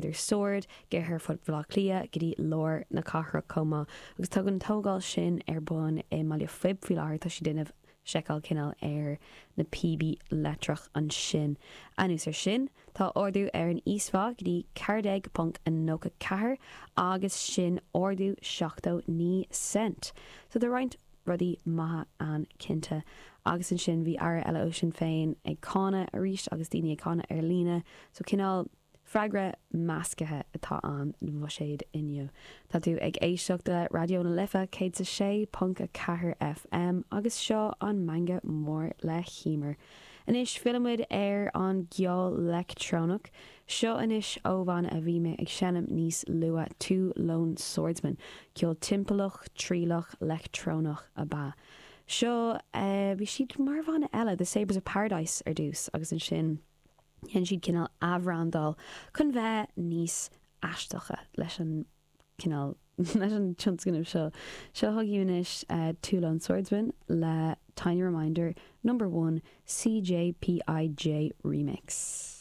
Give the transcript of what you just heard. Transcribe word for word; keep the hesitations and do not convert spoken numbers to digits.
idir Sord go hAerfort Bhaile Átha Cliath go dtí lár na cathrach chomh maith. Agus tá an tógáil sin ar bun i mBaile Phib faoi láthair tá siad ag déanamh seiceáil cineál ar na píobaí leictreach ansin. Anuas ar sin, tá ardú ar an íosphá go dtí ceathair déag ponc a nócha ceathair agus sin ardú seachtó naoi cent. So tá roinnt rudaí maithe ann cinnte. Agus ansin bhí aire eile ó Sinn Féin ag cáineadh arís agus daoine ag cáineadh ar líne, so cineál freagra measctha atá ann don bhuiséad inniu. Tá tú ag éisteacht le Raidió na Life céad a sé ponc a ceathair FM agus seo an Meangadh Mór le hEmer. Anois fillfimid ar an gceol leictreonach. Seo anois ó bhanna a bhí mé ag seinm níos luaithe Two Lone Swordsmen, ceol timpeallach trialach leictreonach ab ea. Seo uh, bhí siad mar bhanna eile, The Sabres of Paradise ar dtús agus ansin dhein siad cineál athbhrandáil chun bheith níos aisteacha leis an cineál leis an tionscnamh seo. Seo chugaibh anois uh, Two Lone Swordsman le Tiny Reminder number one CJPIJ remix.